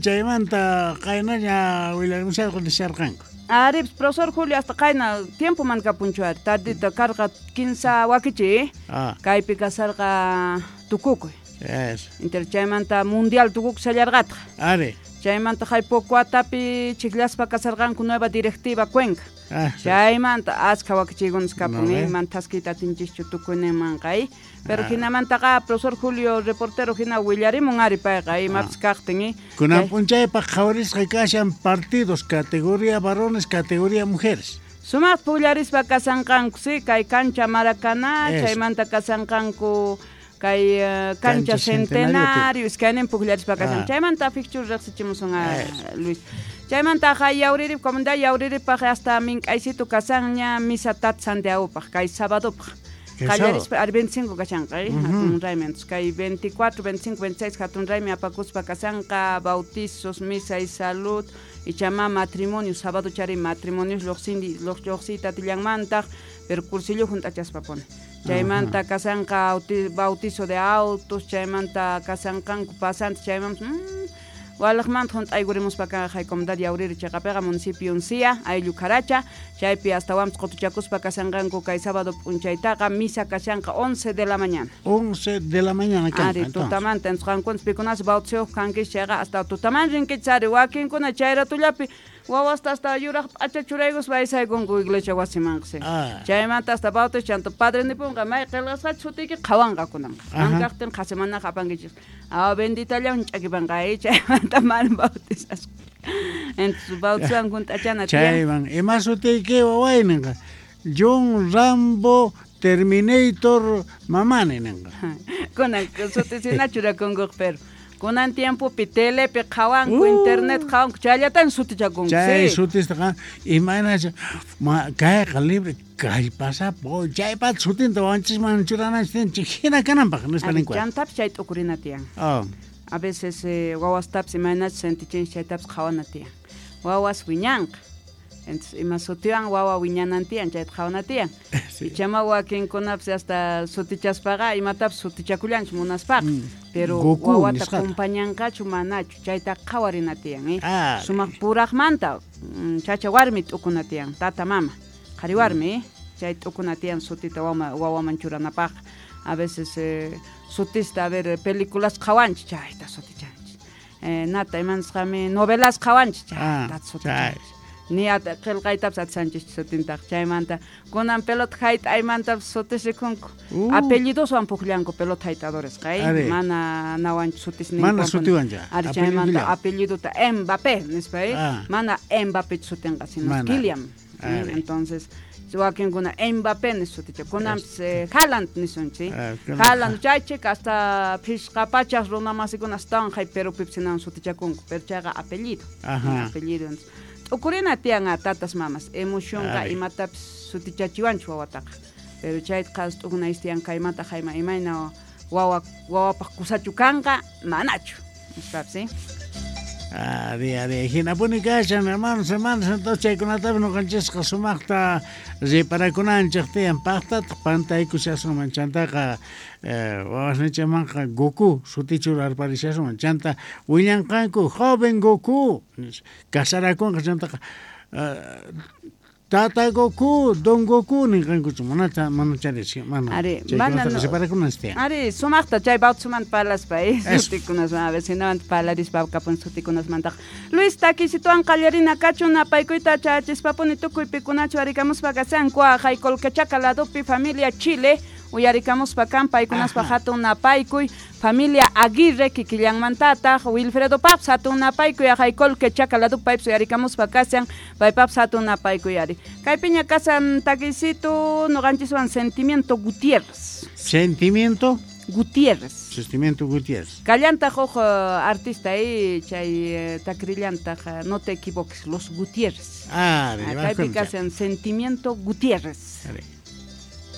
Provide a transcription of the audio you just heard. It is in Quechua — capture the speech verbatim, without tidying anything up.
Chaymanta qaynaña willarimusharqa nisharqanku. Ari, profesor Julio, hasta qayna tiempo man kapunchu ari. Tardita karqa kinsa wakichi. Ah. Kaypi kasarqa tukukuy. Yes. Inter chaymanta mundial tukukuy sallarqataq. Ari. Chaymanta hay poco atapi chiklaspa kasarqanku nueva directiva Cuenca. Ah, chaymanta achka wakichiykunas kapun, No, eh, eh. man thaskiyta atinchischu tukuyninmanqa, eh. Pero Ah. hinamantaqa profesor Julio reportero hina willarimun ari payqa, eh, imapis kaqtin, eh. Kunan Chay- p'unchaypaq qhawarisqa kashan partidos categoría varones, categoría mujeres. Sumaq pullarispa kasanqanku, sí, kay cancha Maracaná, Eso. chaymanta kasanqanku kay eh, cancha Cancha Centenario, Centenario, iskaynin pukllarispa kasan. Ah. Chaymanta fikchu riqsichimusun a Eso. Luis. Chaymanta hay Yauririp, comunidad Yauriripaq hasta mink'aysitu kasanña misa tat Santiagopaq, kay sabadopaq. Kay Qallarispa ari veinticinco kashanqa, eh, Ujú. hatun raymi. Entonces, kay veinticuatro, veinticinco, veintiséis hatun raymi apakuspa kasanqa, bautizos, misa y salud, ichama matrimonio, sábado chari matrimonios lluqsindi, lluqsiyta atillanmantaq, pero cursillo junt'achaspa pone. Chaymanta kasanqa auti-, bautizo de autos, chaymanta kasanqanku pasantes, chaymanpas, mm, walaqmanta junt'aykurimuspa kanqa hay comunidad Yauriri chayqapiqa municipio Uncía, ayllu Caracha, chaypi astawanpas qutuchakuspa kasanqanku kay sábado p'unchaytaqa misa kashanqa once de la mañana. once de la mañana kanqa, Ari, entonces. tutamanta, entonces qankunas pikunas bautizuyuq kankichis chayqa hasta tutaman rinkichis ari, wakinkuna chay ratullapi wawasta hasta yuraq p'acha churaykuspa aysaykunku iglesia wasimanqa, sí. Ah. Chaymanta hasta bautizo chanta padre nipunqa may qillqasqachu sutiyki qhawanqa kunanqa. Ajá. Mankaqtin qhasimanaqa apankichis. Ah, benditallawan ch'akipanqa, eh, chaymanta mana bautizasqa. Entonces bautizowan junt'achana tiyan. Chayman, ima sutiyki waway ninqa? John Rambo Terminator mamani ninqa. Kunan sutisina churakunkuq, pero kunan tiempopi telepi qhawanku, Uh. internet qhawanku, chayllatan sutichakunku, Chay sí. sutistaqa imaynacha ma kayqa libre kallpasapa, chaypata sutinta wawanchisman churananchis tiyan, hina kananpaq nispa Ari, ninku. Chantapis chay t'ukurina tiyan. Oh. A veces, eh, wawastapis imaynachus sentichinchis chaytapis qhawana tiyan. Wawas wiñanqa. Entonces, ima sutiwan wawa wiñanan tiyan, chayta qhawana tiyan. Sí. Ichama wakinkunapis hasta sutichaspaqa imatapis sutichakullanchu munaspaqa. Mm. Pero Goku wawata nisqata. kumpañanqachu manachu, chayta qhawarina tiyan, eh. Ah. Sumaq puraqmanta, mm, chacha warmi t'ukuna tiyan, tata mama, qhari warmi, eh. Chay t'ukuna tiyan sutita wama, wawaman churanapaq. A veces, eh, sutista, a ver, películas qhawanchis, chayta sutichanchis. Eh, nata, imanisqami, novelas qhawanchis, chayta Ah, sutichanchis. Ni at qillqaytapas atisanchis sutintaq chaymanta. Kunan pelota hayt'aymantapas sutis rikunku. Uh. Apellidoswan pukllanku pelota hayt'adoresqa, eh. Ari. Mana nawanchu sutis Mana ninkuwan. sutiwancha, Ari, chaymanta apellidollawan. apellidota Mbappé nispa, eh. Ah. Mana Mbappé sutinqa, sino Mana. Kylian. Ari. Entonces, wakinkuna Mbappé nispa suticha. Kunanpas, eh, Haaland nisunchis, eh. Ah, kunan- Haaland chaychik hasta phishqa pachaq runa masikuna astawan hay Perupipis hinawan sutichakunku, pero chayqa apellido. Ajá. Apellido, entonces, t'ukurina tiyan a tatas mamas, emocionqa Ari. imatapis sutichachiwanchu wawataqa. Pero chayta qhas t'ukunayis tiyan kaymanta hayma imayna wawa, wawapaq kusachu kanqa, manachu, nispapis, eh. Ari, ari, hinapuni kashan, hermanos, hermanas, entonces chaykunatapi ñuqanchisqa sumaqta riparakunanchik tiyan, paqtataq pantaykushasunman, chantaqa, eh, wawasninchikmanqa Goku sutichurarparishasunman, chanta willanqanku joven Goku, casarakunqa chantaqa, eh, Tata Goku, Don Goku ninqankuchu, mana mana chari, mana Ari, mana chaykunataqa no- riparakunanchik tiyan. Ari, sumaqta chay bautizomanta parlaspa, eh, Eso. sutikunasman, a ver, sinamanta parlarispa kapun sutikunasmantaqa. Luis, takisituwan qallarina kachun napaykuyta chachispapuni tukuy pikunachu arikamuspa kasanku, hay Colquechaca ladopi familia Chile, uyarikamuspa kan paykunaspa Ajá. hatun napaykuy, familia Aguirre kikillanmantataq, Wilfredo Paps hatun napaykuy, hay Colquechaca ladopi paypis uyarikamuspa kasan, paypaps hatun napaykuy ari. Kaypiña kasan takisitu ñuqanchiswan Sentimiento Gutiérrez. Sentimiento Gutiérrez. Sentimiento Gutiérrez. Kallantaq huk, eh, artista ahí, chay, eh, takrillantaq, eh, no te equivoques, los Gutiérrez. Ah, Ah, kaypi kasan Sentimiento Gutiérrez. Ari.